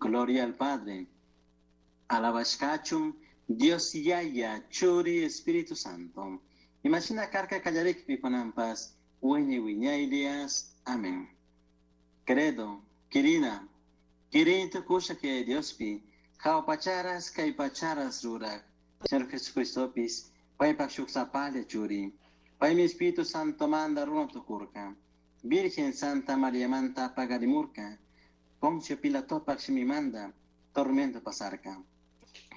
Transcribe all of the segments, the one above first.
Gloria al Padre. Alabashkachun Dios Yaya, Churi, Espíritu Santo. Imashina karka kallarikpi kunanpas, wiñay wiñaylias. Amén. Credo, Kirina, Kirin tukusha que Diospi, jahua pacharas kay pacharas rurak, Señor Jesucristopis, paypak shuk sapalla churi, paymi Espíritu Santo manda runa tukurka, Virgen Santa Mariamanta pagarimurka, Poncio Pilatopak shimimanda, tormento pasarka,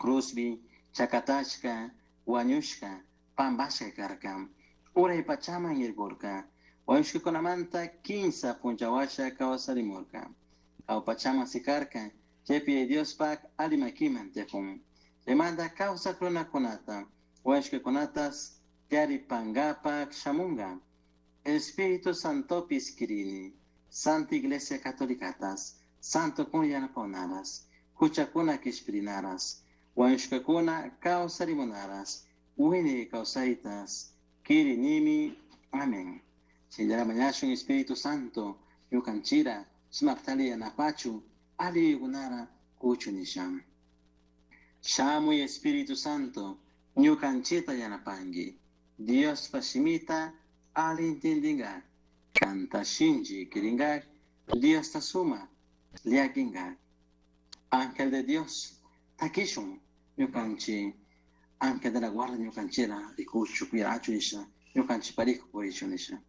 Cruzbi, chakatashka, wañushka, pambashka karka, uray pachaman yaykurka, wañushkakunamanta kinsa punchawasha kawsarimurka, jahua pachaman sikarka, chaypi Diospak ali makiman tiyakun. Chaymanta kawsak runakunata, wañushkakunatas taripangapak shamunga. Espíritu Santopis kirini, Santa Iglesia Catolicatas, Santo kun yanapaonaras, huchakuna kishpirinaras, wañushkakuna kawsarimunaras, wiñay kawsaytas, kirinimi. Amén. Shinallara mañashun Espíritu Santo, ñukanchira, sumaktali yanapachu, ali yuyaykunara kuchu nisha. Shamuy Espíritu Santo, ñukanchita yanapangui, Diospa shimita ali intindingak, kanta shinchi kiringak, Diosta suma llakingak. Ángel de Dios, takishun ñukanchi, ángel de la guarda ñukanchira rikuchu, cuidachu nisha, ñukanchi parijo purichu nisha,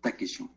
takishun.